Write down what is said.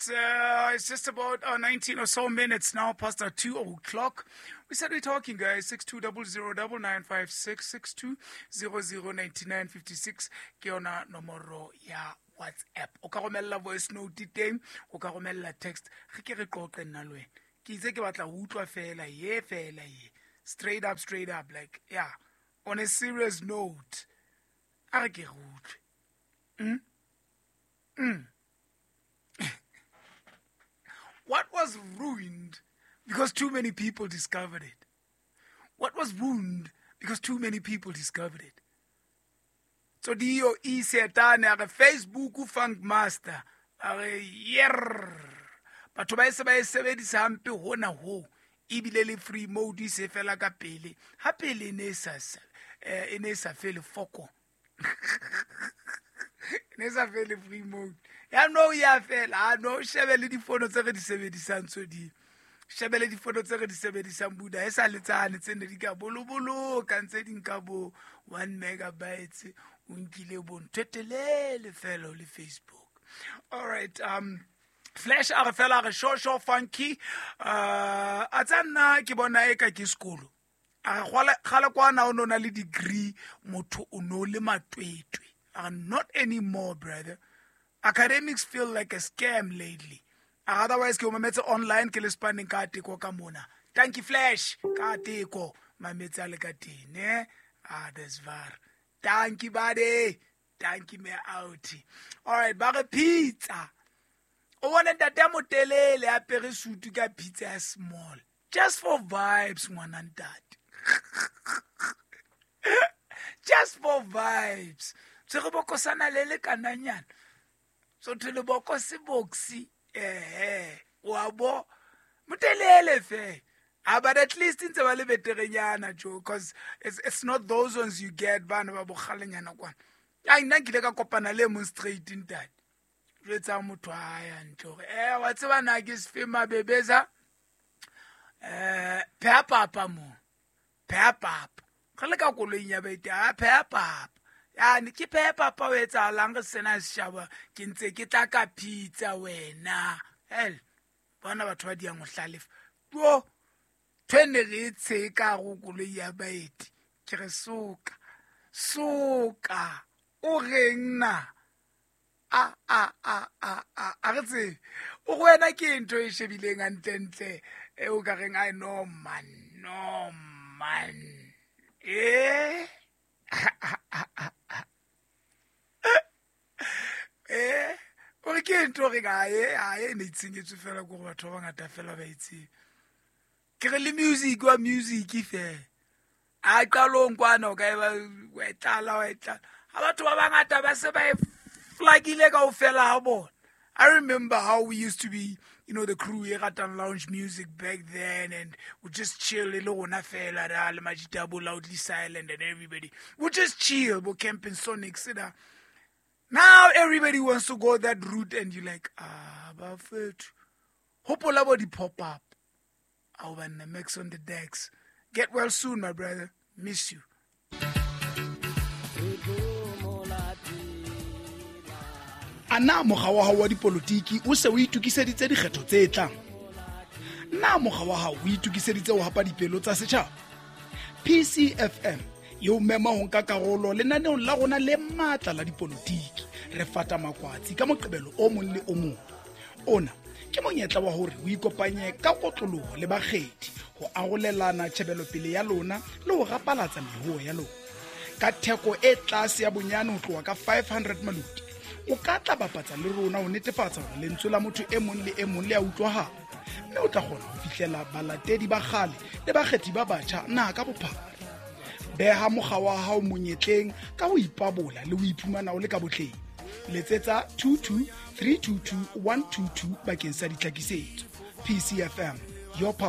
It's just about 19 or so minutes now past 2 o'clock. We said we're talking, guys. 62009956 62009956 ke yona nomoro ya WhatsApp. O ka romella voice note teng, o ka romella text. Re ke re qoqe nna le wena. Ke itse ke batla ho utlwa fela ye fela ye. Straight up, straight up, like, yeah. On a serious note. A re ke re utlwe. What was ruined because too many people discovered it? What was ruined because too many people discovered it? So dio e setane a re Facebook funk master a re yer batho ba e se ba e sebedisa hampe hona ho ebile le free mode e se fela ka pele ha pele e ne e sa fele foko ne sa fele free mode ya no ya fela a no shebe le difono tse re di sebedisang tso di shebe le difono tse re di sebedisang buda e sa le tsane tse ne di ka boloboloka ntse di nka bo 1 megabytes o nkile bo ntho e telele fela o le Facebook. All right, Flash a re fela a re sho sho funky, a tsa nna ke bona e ka ke sekolo a re gale kwana o no na le degree motho o no le matwetwe a re not anymore, brother. Academics feel like a scam lately. Otherwise ke o mametse online ke le spanning ka teko ka mona. Thank you, Flash, ka teko mametse a le ka teng ne. Ah, that's var. Thank you, buddy. Thank you, me out. All right, ba re pizza. O bona ntate a motelele a apere sutu ka pizza ya small. Just for vibes, ngwana ntate. Just for vibes. Se re bokosana le le kananyana. So thwe lebokose boxi eh wa bo motelele fe. Ah, but at least ntse ba le beterenyana jo, because it's not those ones you get bana ba bogalenyana kwana. Ai nna nkile ka kopana le mong straight ntate. Jwetsa motho a ya ntle hore wa tseba na ke sefe mabebeza pheha papa mo pheha papa re le ka koloing ya baeti a pheha papa yani ke pheha papa o etsahalang re sena setjhaba ke ntse ke tla ka pizza wena hell bona batho ba diang ho hlalefa puo thwene re e tsheka go koloi ya baeti ke re soka soka o reng na a a a a a a re tsebe o go wena ke ntho e shebileng hantlentle e o ka reng ai no man no man eh eh o re ke ntho re ka e a e ne itshenyetswe fela ko go batho ba bangata fela ba itsebe ke re le music wa music fela a qalong kwana o ka e ba wa e tlala wa e tlala ha batho ba bangata ba se ba e flakile kaofela ha bona. I remember how we used to be, you know, the crew e ratang lounge music back then, and we just chill le rona fela ra le majita bo Loudly Silent and everybody. We just chill, bo camping Sonic sida. Now everybody wants to go that route and you're like, ah, bafethu. Hopola bo di pop up. Ao banna, Max on the decks. Get well soon, my brother. Miss you. A na mokga wa hao wa dipolotiki o se o itokiseditse dikgetho tse tlang? Na mokga wa hao o itokiseditse ho hapa dipelo tsa setjhaba? PCFM e o mema ho nka karolo lenaneong la rona le matla la dipolotiki. Re fata makwatsi ka Moqebelo o mong le o mong. Ona ke monyetla wa hore o ikopanye ka kotloloho le bakgethi ho arolelana tjhebelopele ya lona le ho rapalatsa mehoo ya lona. Ka theko e tlase ya bonyane ho tloha ka 500 maloti, o ka tla bapatsa le rona ho netefatsa hore lentswe la motho e mong le e mong le a utlwahala, mme o tla kgona ho fihlela balatedi ba kgale le bakgethi ba batjha naha ka bophara. Beha mokga wa hao monyetleng ka ho ipabola le ho iphumana o le ka botleng. Letsetsa 22 322 122 bakeng sa ditlhakisetso. PCFM, your power.